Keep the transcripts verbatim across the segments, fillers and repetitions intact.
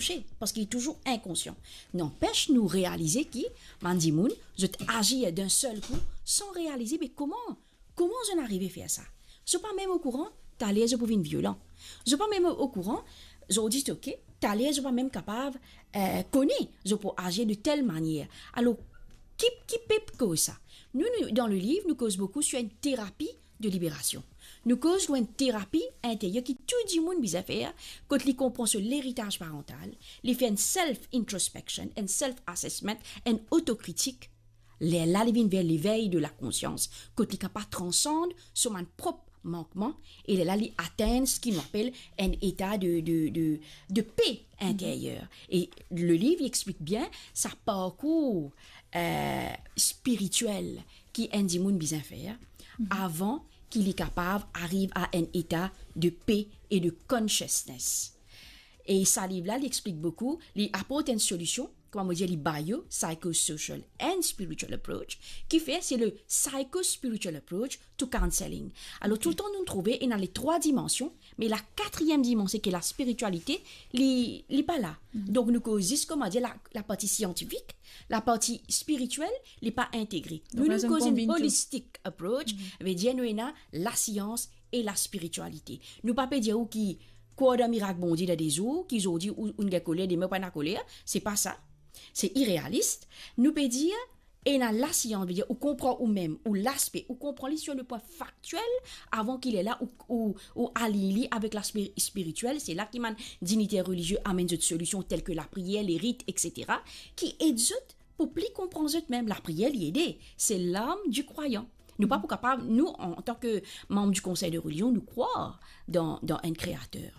kouche, parski li touzour inkonsian. Nanpes, nou realize ki bann dimoun, zot azir dan sel kou, san realize, me kouma, kouma zot inn arive fer sa? Zot pa mem okouran, taler zot pou vinn violan. Zot pa mem okouran, zot dir, ok, taler zot pa mem kapav, eh, kone, zot pou azir de tel manier. Alor, ki, ki pe koz sa? Nou, nou, dan leliv, nou koz boukou sur enn terapi de liberasion. Nou koz lor enn terapi interyer ki tou dimoun bizin fer, kot li konpran so leritaz parantal, li fer enn self introspection, enn self assessment, enn otokritik. Lerla li vinn ver levey de lakonsians, kot li kapav transand so bann prop mankman, e lerla li atenn seki nou apel enn eta de, de, de, de pe interyer. E leliv, li explik bien sa parkour, eh, spiritiel ki enn dimoun bizin fer avan ki li kapav ariv a enn eta de pe e de consciousness. E sa liv-la, li explik boukou, li aport enn solision, kouma mo dir, li bio, psychosocial and spiritual approach, ki fer se le psychospiritual approach to counseling. Alor, toultan nou trouve ena le trwa dimansion, me la katriem dimansion ki la spiritialite, li, li pa la. Donk, nou koz zis, kouma dir, la, la parti siantifik, la parti spiritiel, li pa integre. Donk, nou, la, nou koz enn holistic approach, vedir nou ena lasians e laspiritialite. Nou pa pe dir ou ki krwar dan mirak Bondie dan de zour, ki zordi ou, ou gagn koler, demin ou pa ena koler, se pa sa. Se irealis. Nou pe dir, ena lasians, vedir ou konpran ou mem, ou laspe, ou konpran li sur le pwin faktiel, avan ki lerla ou, ou, ou align li avek laspe spiritiel. Se la ki bann diniter relizie amenn zot solision tel ki lapriyer, lerit, et cetera, ki ed zot pou pli konpran zot mem. Lapriyer, li ede. Se larm di krwayan. Nou pa pou kapav, nou, an, antan ki manm di konsey de relizion, nou krwar dan, dan enn kreater.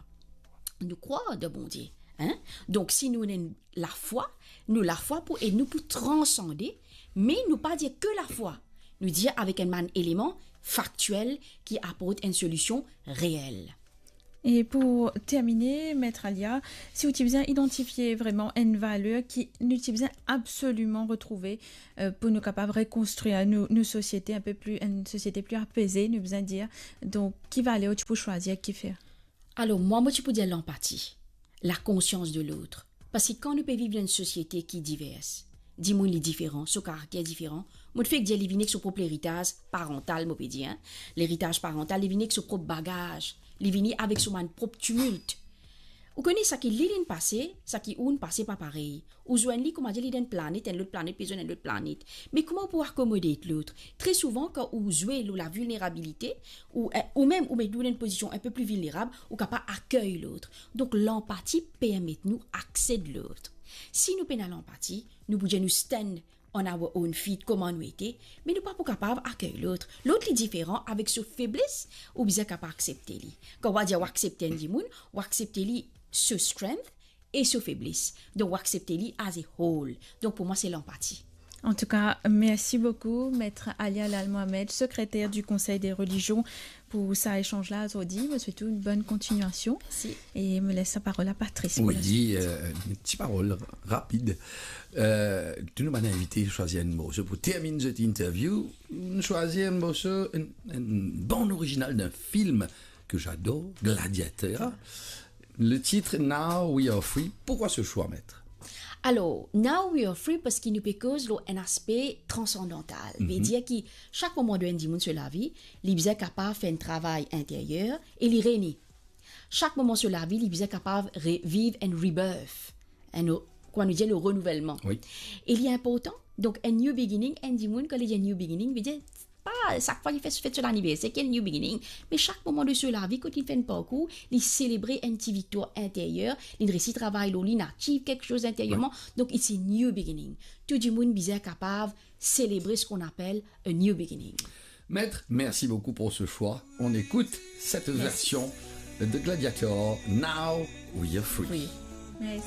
Nou krwar dan Bondie, hein? Donk, si nou ena lafwa, nou lafwa pou ed nou pou transande, me nou pa dir ke lafwa. Nou dir avek enn bann eleman faktiel ki aport enn solision reel. E pou termine, Met Alia, si ou ti bizin idantifie vreman enn valer ki nou ti bizin absoliman retrouve, euh, pou nou kapav rekonstrir nou, nou sosiete enn pe pli, enn sosiete pli apeze, nou bizin dir. Donk, ki valer ou ti pou swazir, kifer? Alor, mwa, mo ti pou dir lanpati, lakonsians de lot. Parski kan nou pe viv dan enn sosiete ki divers, dimoun li diferan, so karakter diferan, mo fek dir li vini ek so prop leritaz parantal, mo pe dir, hein. Leritaz parantal, li vini ek so prop bagaz, li vini avek so bann prop timilt. Ou kone seki li, li inn pase, seki ou inn pase pa parey. Ou zwenn li, kouma dir, li dan enn planet, enn lot planet pe zwenn enn lot planet. Me kouma ou pou akomode lot? Tre souvan, kan ou zwe lor lavilnerabilite, ou, eh, ou mem ou met ou dan enn pozision enn pe pli vilnerab, ou kapav akey lot. Donk, lanpati permet nou aksepte lot. Si nou pena lanpati, nou pou dir nou stand on our own feet, kouma nou ete, me nou pa pou kapav akey lot. Lot li diferan avek so febles, ou bizin kapav aksepte li. Kan ou dir ou aksepte enn dimoun, ou aksepte li so strength e so febles. Donk, ou aksepte li as a whole. Donk, pou mwa, se lanpati. Antouka, mersi boukou, Met Alia Lal Mohamed, sekreter di Konsey de Relizion, pou sa esanz la zordi. Mo swet ou enn bonn kontinuasion. Mersi. E mo les sa parol a Patrice pou la swit. Wi, euh, enn ti parol rapid. Euh, tou nou bann invite swazir enn morso pou terminn zot interview. Nou swazir enn morso, enn, enn bann orizinal dan film ke j'adore, Gladiator. Le titre Now We Are Free. Pourquoi ce choix, Met? Alor, Now We Are Free, parski nou pe koz lor enn aspe transandantal. Vedir ki sak moman dan enn dimoun so lavi, li bizin kapav fer enn travay interyer e li rene. Sak moman so lavi, li bizin kapav re-, viv enn rebirth, enn o-, kouma nou dir, le renouvelman. Wi. E li inportan. Donk, enn new beginning, enn dimoun, kan li dir new beginning, vedir, pa sak fwa li fer, fer so laniverser, ki enn new beginning. Me sak moman de so lavi, kot li fer enn parkour, li selebre enn ti viktwar interyer, li resi travay lor li, li achieve kiksoz interyerman. Wi. Donk, it's a new beginning. Tou dimoun bizin kapav selebre seki nou apel a new beginning. Met, merci beaucoup pour ce choix. On écoute cette version de Gladiator, Now We Are Free. Merci.